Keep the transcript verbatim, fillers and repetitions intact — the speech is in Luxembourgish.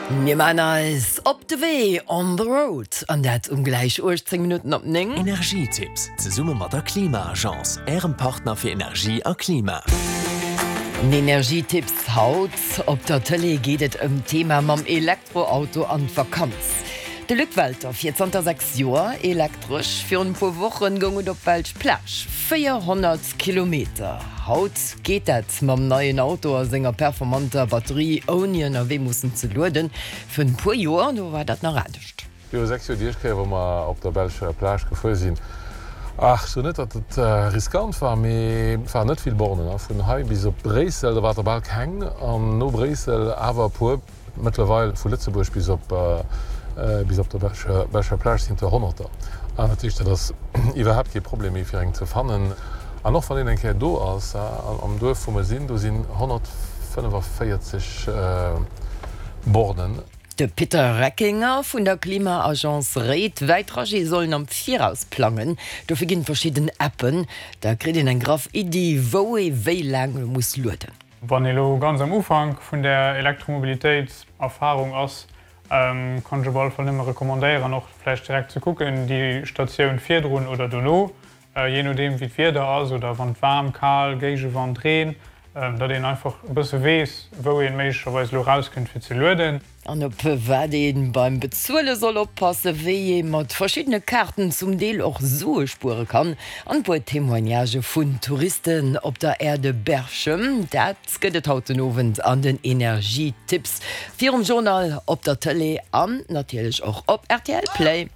Mir maachen eis op de Wee, on the road, an dat um gläich uechtzéng Minutten op néng. Energietipps, zesumme mat der Klima-Agence, Ärem Partner fir Energie a Klima. Den Energietipps haut op der Tëlee geet et ëm d'Thema mam Elektroauto an d'Vakanz. De Luc Welter fiert zanter sechs Joer elektresch. Virun e puer Wochen goung et op d'belsch Plage, véierhonnert Kilometer. Haut geet dat mam neien Auto a senger performanter Batterie ouni ënnerwee mussen ze lueden. Virun e puer Joer, do war dat nach anescht. Viru sechs Joer déi éischt Kéier wou mer op der belscher Plage gefuer sinn, ach, ech soen net datt et riskant war, mee et waren net vill Bornen. Vun hei bis op Bréissel, do war der bal keng, an no Bréissel awer e puer. Mëttlerweil vu Lëtzebuerg bis op bis op der belscher belscher Plage sinn der Honnerter. An dat heescht, dat ass iwwerhaapt kee Problem méi fir eng ze fannen. An och wann een eng Kéier do ass, am Duerf wou mer sinn, do sinn honnertfënnefaviertzeg Bornen. De Peter Reckinger vun der Klima-Agence réit, wäit Trajete soll een am Viraus plangen. Dofir ginn et verschidden Appen, da kritt een eng graff Iddi, wou ee wéi laang muss lueden. Wann ee lo ganz am Ufank vun der Elektromobilitéits-Erfarung ass, kann ech op alle Fall nëmme recommandéieren, och vläicht direkt ze kucken, déi Statioun virdrun oder dono, jee nodeem wéi d'Wieder ass oder wann et waarm, kal, Géigewand, Reen, datt een einfach e bësse weess, wou een méiglecherweis elo erauskënnt fir ze lueden. An op wat ee beim Bezuele soll oppassen, wéi ee mat verschiddene Kaarten zum Deel och Sue spuere kann an e puer Témoignagë vun Touristen op der Aire de Berchem, dat gëtt et haut den Owend an den Energietipps virum Journal op der Tëlee an natierlech och op rtl Play.